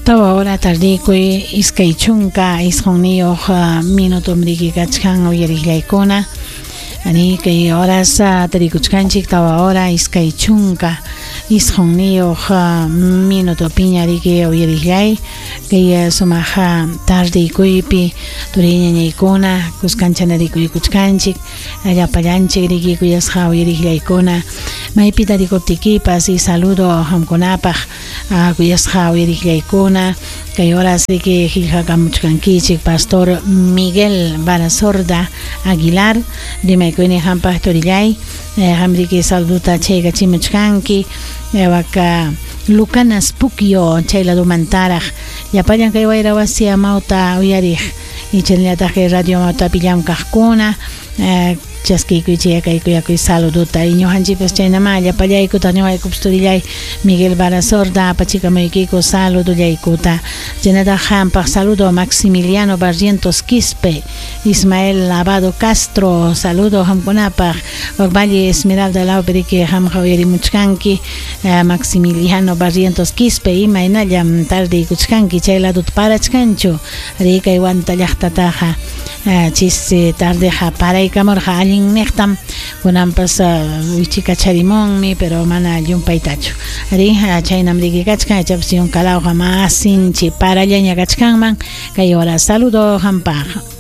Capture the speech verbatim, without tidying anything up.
Tawa hora tardikuy iskay chunka isqunniyuq minutum riki kachkan uyariqllaykuna. Ani kay horas tarikuchkanchik tawa hora iskay chunka isqunniyuq minutopiña riki uyariqllay kay sumaq tardikuypi turiñañaykuna kuskancha narikuykuchkanchik llapallanchik riki kuyasqa uyariqllaykuna maypi tarikuptikipas y saludo qamkunapaq kuyasqa uyariqllaykuna kay horas riki qillqakamuchkankichik Pastor Miguel Barasorda Aguilar rimaykuyni qampaq turillay qam riki saluduta chaykachimuchkanki waka Lucanas Pukyo chay ladumantaraq llapallan kay wayra wasi amawta uyariq y chaynallataq kay radio amawtapi llamkaqkuna chaskiykuy kay kuyakuy saluduta y ñuqanchikpas chaynama llapallaykuta ñuqaykupas turillay Miguel Barasorda apachikamuykiku saludullaykuta chaynataq qampaq saludo Maximiliano Barrientos Quispe, Ismael Lavado Castro, saludo qamkunapaq wak Valle Esmeralda lawpi riki qamqa uyarimuchkanki Maximiliano Barrientos Quispe imaynallam tardiykuchkanki chay laduta parachkanchu rikay Huanta llaqtataqa chisi tardeqa paraykamurqa allin niqtam kunanpas wichikacharimunmi pero mana llumpaytachu ari chaynam riki kachkan ichapas yunkalawqa mas sinchi parallaña kachkanman kay hora saludo qampaq.